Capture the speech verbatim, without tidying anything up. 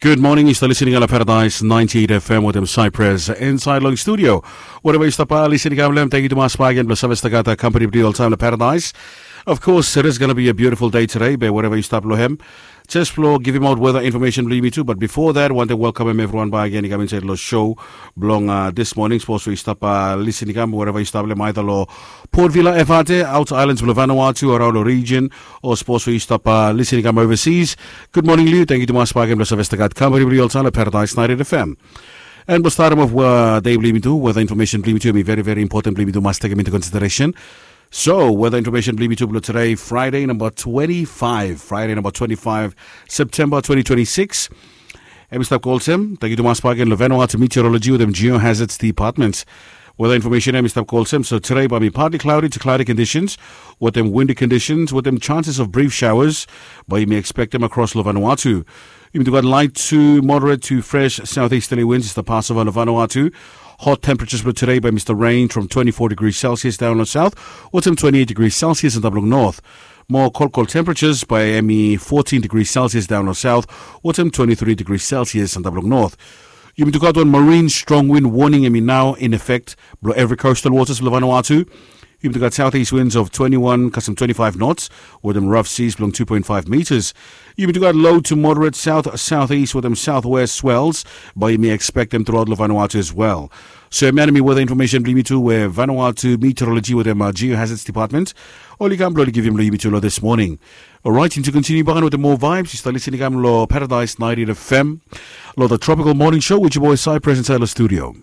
Gud moning, yu stap lisin i kam long Paradise ninety eight F M wetem Cypress insaed long studio. Wereva yu stap lisin i kam long hem, tangkiu tumas bak gen blong save stap gat kampani blong yu oltaem long Paradise. Of course, it is gonna be a beautiful day today, be wereva yu stap long hem. Jes blong givimaot weta infomesen blong yumi tu, but bifo that, wantem welkamem evriwan bak gen i kam insaed long show blong dis moning. Sapos we yu stap lisin i kam wereva yu stap long hem, aeda long Port Vila, Efate, Outer Islands blong Vanuatu, araon long region, o sapos we yu stap lisin i kam overseas. Gud moning long yu, tangkiu tumas bak gen blong save stap gat kampani blong yu oltaem long Paradise ninety eight F M. And blong statem of dei blong yumi tu, weta infomesen blong yumi tu hemi veri veri impoten blong yumi tu mas tekem into consideration. So weta infomesen blong yumi tu blong today, Friday number twenty-five, Friday number twenty-five, September twenty twenty-six. Hemi stap go olsem, tangkiu tumas bak gen long Vanuatu Meteorology wetem Geohazards Department. Weta infomesen hemi stap go olsem, so today bae hemi partly cloudy to cloudy conditions wetem windy conditions wetem chances of brief showers bae yumi ekspektem across long Vanuatu. Yumi tu gat light to moderate to fresh southeasterly winds i stap pasova long Vanuatu. Hot temperatures blong today bae hemi stap range from twenty-four degrees Celsius daon long south wetem twenty-eight degrees Celsius antap long north. Moa kolkol temperatures bae hemi fourteen degrees Celsius daon long south wetem twenty-three degrees Celsius antap long north. Yumi tu gat wan marine strong wind warning hemi nao in effect blong evri coastal waters blong Vanuatu. Yumi tu gat southeast winds of twenty-one kasem twenty-five knots wetem rough seas blong two point five meters. Yumi tu gat low to moderate south southeast wetem southwest swells bae yumi ekspektem truaot long Vanuatu as well. So hemia hemi weta infomesen blong yumi tu we Vanuatu Meteorology wetem Geohazards Department oli kam blong oli givim long yumi tu long dis moning. Orait, yumi tu kontiniu bak gen wetem moa vibes. Yu stap lisin i kam long Paradise ninety eight F M long the Tropical Morning Show with your boy Cypress insaed long studio.